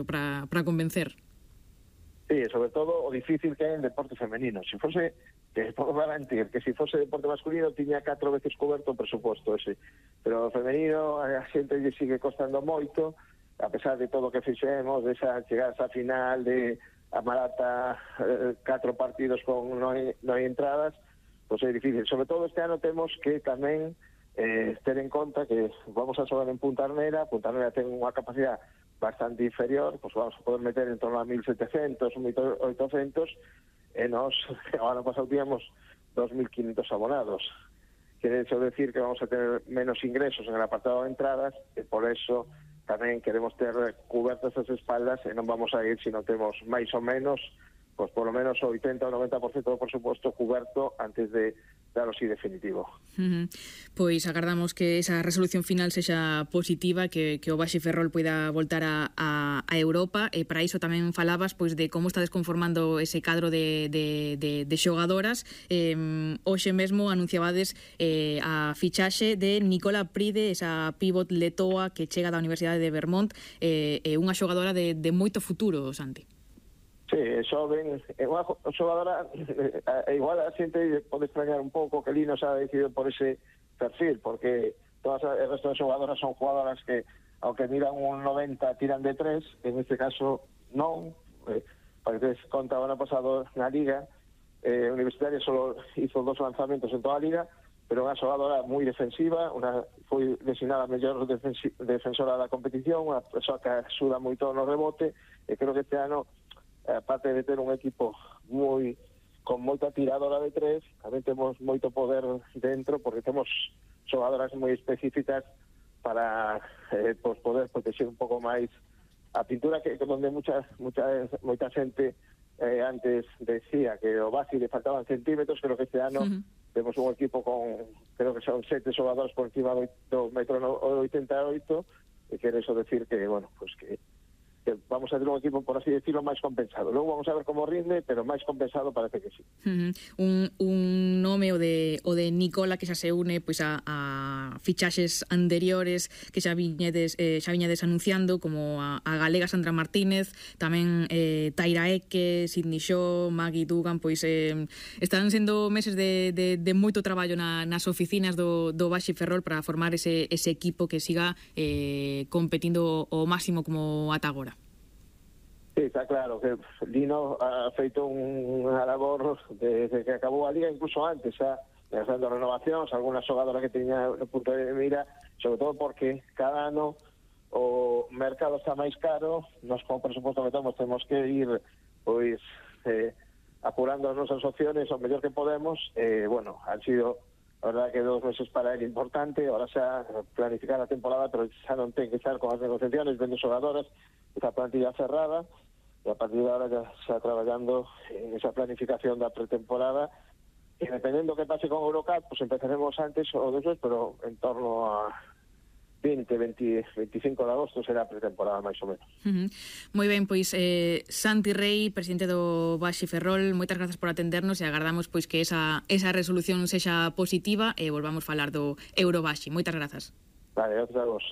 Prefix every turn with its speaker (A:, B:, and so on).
A: para convencer.
B: Sí, sobre todo o difícil que é en deporte femenino. Se fose, que podo garantir que se fose deporte masculino tiña 4 veces coberto o presuposto ese, pero o femenino a xente lle sigue costando moito, a pesar de todo o que fixemos, de esa chegar a final de a Marata, 4 partidos con non hai entradas, pois é difícil. Sobre todo este ano temos que tamén ter en conta que vamos a xogar en Punta Arnera ten unha capacidade bastante inferior, pues vamos a poder meter en torno a 1.700, 1.800, e nos, o ano pasado tíamos 2.500 abonados. Quiere eso decir que vamos a tener menos ingresos en el apartado de entradas, e por eso tamén queremos ter cubertas as espaldas e non vamos a ir se non temos máis ou menos, pues por lo menos o 80 ou 90% do presuposto cuberto antes de claro, sí, definitivo.
A: Pois agardamos que esa resolución final sexa positiva, que o Baxi Ferrol poida voltar a Europa, e para iso tamén falabas pois de como estades conformando ese cadro de xogadoras. Hoxe mesmo anunciabades a fichaxe de Nicola Pride, esa pivot letoa que chega da Universidade de Vermont, unha xogadora de moito futuro, Santi.
B: Sí, xoven, é unha xogadora, igual a xente pode extrañar un pouco que Lino se ha decidido por ese perfil, porque todas as resto de xogadoras son jugadoras que, aunque miran un 90, tiran de 3, en este caso non, para que te conta o ano pasado na Liga, Universitaria solo hizo 2 lanzamentos en toda a Liga, pero unha xogadora moi defensiva, foi designada a mellor defensora da competición, unha persoa que axuda moito no rebote, e creo que este ano, aparte de ter un equipo con moita tiradora de 3, tamén temos moito poder dentro, porque temos xogadoras moi específicas para poder proteger un pouco máis a pintura, que donde moita xente antes decía que o Baxi le faltaban centímetros. Creo que este ano temos un equipo con, creo que son 7 xogadores por encima do 1,88 m, e quere eso decir que, bueno, pues que vamos a ter un equipo, por así decirlo, máis compensado. Logo vamos a ver como rinde, pero máis compensado parece que sí.
A: Un nome o de Nicola que xa se une pois a fichaxes anteriores que xa viñedes anunciando, como a galega Sandra Martínez, tamén Taira Eke, Sidney Shaw, Maggie Dugan, pois están sendo meses de moito traballo nas oficinas do Baxi Ferrol para formar ese equipo que siga competindo o máximo como ata agora.
B: Sí, está claro que Lino ha feito unha labor desde que acabou a Liga, incluso antes, lanzando renovacións, algunhas xogadoras que teña no punto de mira, sobre todo porque cada ano o mercado está máis caro, nos con o presuposto que temos que ir pois apurando as nosas opciones o mellor que podemos. Bueno, han sido, a verdad, que 2 meses para él importante, ahora xa planificar a temporada, pero xa non ten que estar con as negociaciones, vendo xogadoras, esa plantilla cerrada, e a partir de ahora ya está traballando en esa planificación da pretemporada, e dependendo que pase con Eurocup, pues empezaremos antes ou despois, pero en torno a 25 de agosto será a pretemporada máis ou menos.
A: Moi ben, pois Santi Rei, presidente do Baxi Ferrol, moitas grazas por atendernos, e agardamos pois que esa resolución sexa positiva e volvamos falar do Eurobaxi. Moitas grazas.
B: Vale, outros a vos.